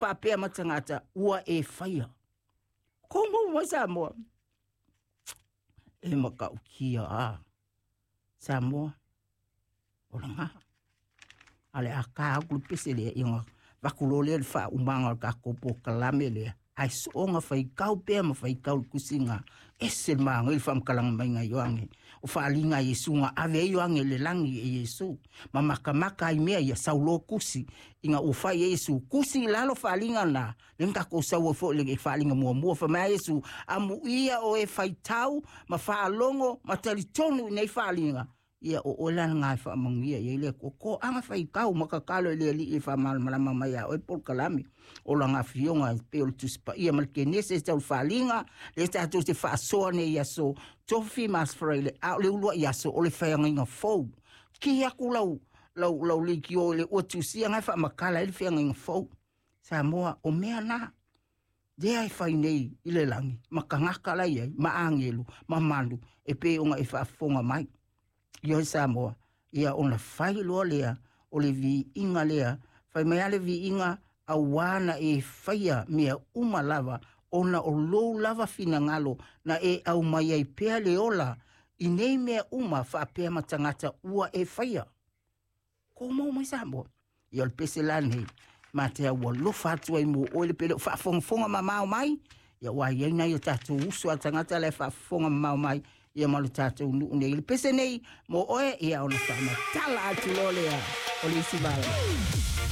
Faapea ma tagata ua e faia. Kou mau mai Samoa. E matautia a Samoa. O laga. A le a ka aku le pese lea ia ona vaku loa lea le faaumaga o le tatou polokalame lea. Ae soona faitau pea ma faitau le tusiga ese le magai le faamatalaga maiga a Ioane. O faaaliga a Iesu na ave ai Ioane i le lagi e Iesu. Ma makamaka ai mea ia sau loa tusi ina ua fai e Iesu tusi i lalo faaaliga na, lea na tatou sau ai foi i le faaaliga muamua. Fai mai a Iesu, amuia o e faitau ma faalogo ma talitonu i nei faaaliga, ia o oe la lena e faamanuia i ai le Atua. Toaga faitau ma tatalo i le Alii e faamalamalama mai ia oe polokalame o lana afioga e pei o le Tusi Paia ma le Kenese e tau le faaaliga lea tatou te faasoa nei i aso Tofi ma Aso Faraile, a o le uluai aso o le feagaiga fou. Ki aku lau lau lau leitio i le ua tusia na e faamatala ai le feagaiga fou. Samoa, o mea na lea e fai nei i le lagi ma tagata la i ai ma agelu ma malu e pei ona e faafofoga mai. Ioe Samoa, ia ona fai loa lea o le viiga lea, fai mai lava le viiga auā na e faia mea uma lava ona o lou lava finagalo na e aumai ai pea le ola i nei mea uma faapea ma tagata ua e faia. Kou mau mai Samoa. Ia o le pese la nei, ma te au alofa atu ai mo oe le pele o faafogafoga mamao mai, ia ua i ai nai o tatou uso a tagata la e faafofoga mamao mai, ia ma lo tatou nuu nei. Le pese nei mo oe, ia ona faamatala atu loa lea o le isi vala.